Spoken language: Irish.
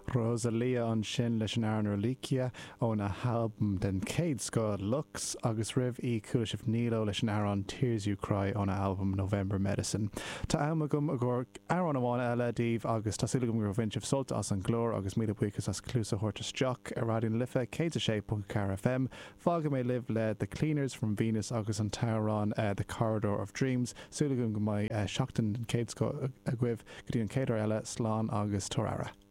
Rosalía ansin leis an amhrán Reliquia óna halbam den chéad scoth, Lux, agus roimh í chuala sibh Nilo leis an amhrán Tears You Cry óna albam November Medicine. Tá am agam i gcomhair amhrán amháin eile daoibh agus tá súil agam gur bhain sibh sult as an gclár agus míle buíochas as cluas a thabhairt isteach ar Raidió na Life 106.4 FM. Fágfaidh mé libh le The Cleaners from Venus agus an t-amhrán The Corridor of Dreams. Súil agam go mbeidh seachtain den chéad scoth agaibh. Go dtí an chéad uair eile, slán agus tabhair aire.